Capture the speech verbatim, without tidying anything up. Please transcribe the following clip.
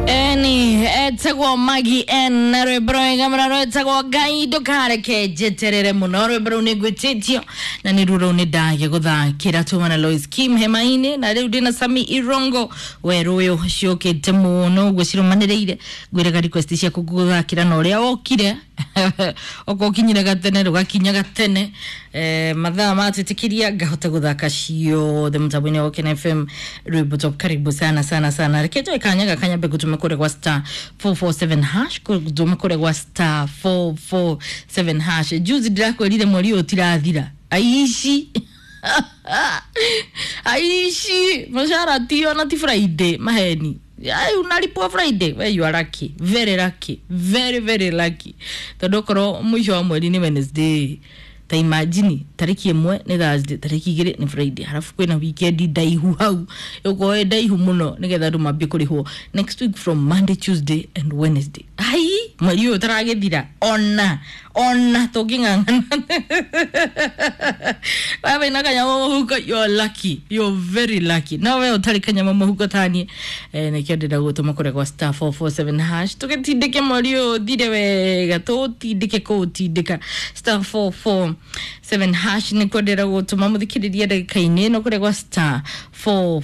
Eni etagwo Magi N na rwimbo rwega muno rwetagwo Ngai ndukareke njeterere muno. Rwimbo rũu nĩ ngwĩtĩtio na nĩ ruo rũu nĩ ndage gũthakĩra tuma na Lois Kim hema-inĩ, na rĩu ndĩna Sami Irongo werũ ũyũ ciũkĩte mũno ũguo cirũmanĩrĩire. Ngwĩraga request ciaku ngũthakĩra na ũrĩa wokire okorwo ũkinyire gatene rũgakinya gatene, eh, mathaa matwĩtĩkĩria ngahota gũthaka ciothe mũtambo-inĩ wa Okena F M rwimbo top. Karibu sana sana sana. Reke njoe kanya gaka nyambe ngũtũme kũrĩa gwa star four four seven hash, ngũtũme kũrĩa gwa star four four seven hash. Juzi ndĩrakwĩrire mweri ũyũ ũtirathira, aici aici mũcara ti ona ti Friday maheni. Ai, unalipwa Friday? We, you are lucky, very lucky, very very lucky, tondu okorwo mũico wa mweri nĩ Wednesday, ta imagine tariki ĩmwe nĩ Thursday, tariki igĩrĩ nĩ Friday, halafu kwĩna weekend ndaihu hau ĩgũkorwo ĩ ndaihu mũno nĩgetha andũ mambie kũrĩhwo next week from Monday, Tuesday and Wednesday. Ai, mweri ũyũ ũtaragĩthira ona ona tũngĩng'ang'ana wewe wĩna kanyamũ mũhuko, you're lucky, you're very lucky. No we ũtarĩ kanyamũ mũhuko taniĩ, eh, nĩkĩo ndĩrenda gũtũma kũrĩa gwa star four four seven hash tũgĩtindĩke mweri ũyũ ũthire wega, tũũtindĩke kũũtindĩka. Star four four seven hash nĩkuo ndĩrenda gũtũma mũthikĩrĩria ndagĩka-inĩ ĩno kũrĩa gwa star four